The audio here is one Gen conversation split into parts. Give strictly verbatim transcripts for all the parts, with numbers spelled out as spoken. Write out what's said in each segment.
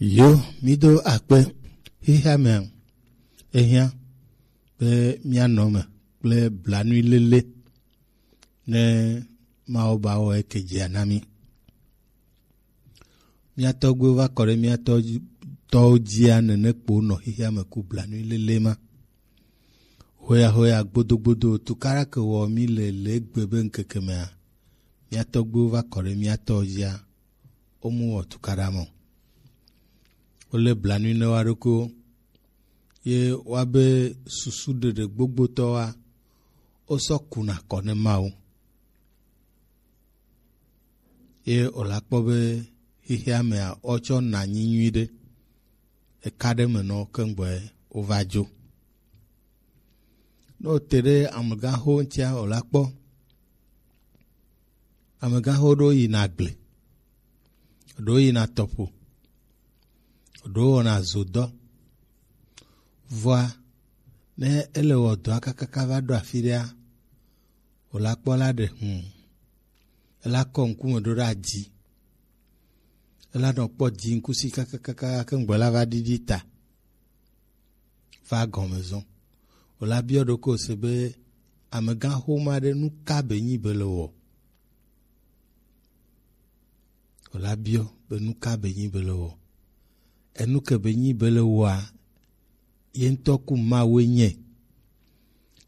Yo, mi do akpe. Xixea mea, ehiã be míanɔ eme kple blanuilele ne Mawu ba wɔ eke dzia na mí. Mía tɔgbuiwo va kɔ ɖe mía tɔ-, tɔwo dzia nene kpo nɔ xixea me ku blanuilele ma. Hoya hoya gbodo gbodo tukaɖa ke wɔ mí le le egbe be ŋkeke mea, mía tɔgbuiwo va kɔ ɖe mía tɔwo dzia, womu wɔ tukaɖa mɔ. Wolé blanui ne woa ɖokuiwo. Ye woabe susu ɖeɖe gbogbotɔ wa, wosɔ kuna kɔ ne Mawu. Ye wòla kpɔ be xexea mea, wotsɔ na anyi nyui ɖe. Eka ɖe me nɔ keŋgbɔe wova dzo. Ne wote ɖe amegãxo ŋutia, wòla kpɔ. Amegãxo ɖewo yina agble, ɖewo yina tɔƒo, ɖewo wɔna zodɔ. Vɔa, ne ele wɔ dɔa kakaka va ɖo afi ɖea, wòla kpɔ la ɖe hũu. Ela kɔ ŋkume ɖo ɖe adzi. Ela nɔ kpɔ dzi ŋkusi kakakaka keŋgbɔ la va ɖiɖi ta. Va gɔme zɔn. Wòla biɔ ɖokui se be, amegãxoma ɖe nu ka be nyi be le wɔ? Wòla biɔ be nu ka be nyi be le wɔ? Enu ke be nyi be le wɔa, ye ŋutɔ ku Mawue nye.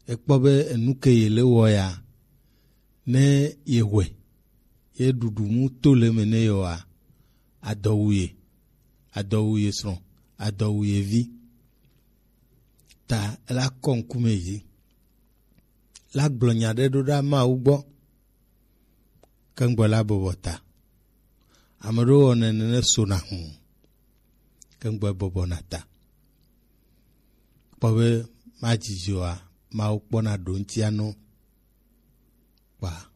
Ekpɔ be enu ke ye le wɔ ya, ne ye wɔe, ye ɖuɖu mu to le eme ne ye wɔa, adɔ wu ye, adɔ wu ye srɔ̃, adɔ wu ye vi. Ta ela kɔ ŋkume yi dzi. La gblɔ nya ɖe ɖo ɖa Mawu gbɔ. Keŋgbɔ la bɔbɔ ta. Ame ɖewo wɔnɛ nene sona hũ. Keŋgbɔ bɔbɔna ta. Kpɔ be madzidzɔa, Mawu kpɔna ɖo ŋutia nɔ. Kpa.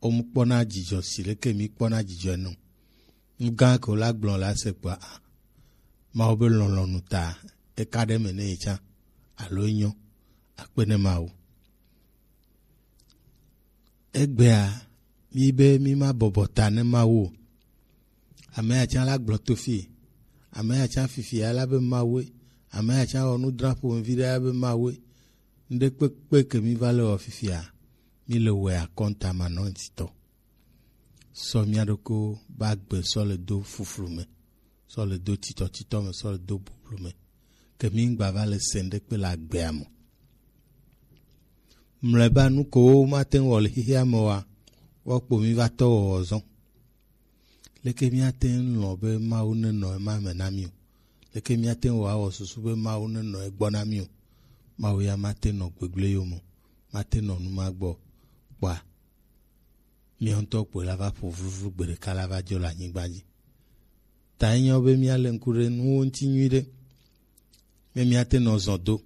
Womkpɔna dzidzɔ si leke mi kpɔna dzidzɔ nɔ. Nu gã ke la gblɔ la se kpa. Mawu be lɔlɔ̃nu ta. Eka ɖe me ne ye tsã. Alo enyo. Akpe ne Mawu. Egbea, mi be mi ma bɔbɔ ta ne Mawu o. Ame ya tsã la gblɔ to fi. Ame ya tsã fifi ya la be Mawue. Ame ya tsã wɔ nu dra ƒo ŋvi ɖe ya be Mawue. Ŋɖe kpekpe ke mi va le wɔ fifia, mi le wɔe akɔnta manɔŋutitɔ. Sɔ mía ɖokuiwo ba gbe sɔ le do fuflu me, sɔ le do titɔtitɔ me, sɔ le do bublu me. Ke mi ŋgba va le se ŋɖe kpe le agbea me. Mlɔeba nu ko wo mate ŋu wɔ le xexea me oa, woakpo mi va tɔ wɔwɔ zɔn. Leke míate ŋu lɔ̃ be Mawu nenɔ ema me na mí o? Leke míate ŋu awɔ susu be Mawu nenɔ egbɔ na mí o? Mawu ya mate nɔ gbegblẽ yome o, mate nɔ nu ma gbɔ o. Kpɔa, míawo ŋutɔ kpoe la va ƒo vluvlu gbe ɖeka la va dzo le anyigba dzi. Ta enyo be míale ŋku ɖe nuwo ŋuti nyuiɖe, be míate nɔ zɔ do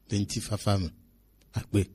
le ŋutifafa me. Akpe.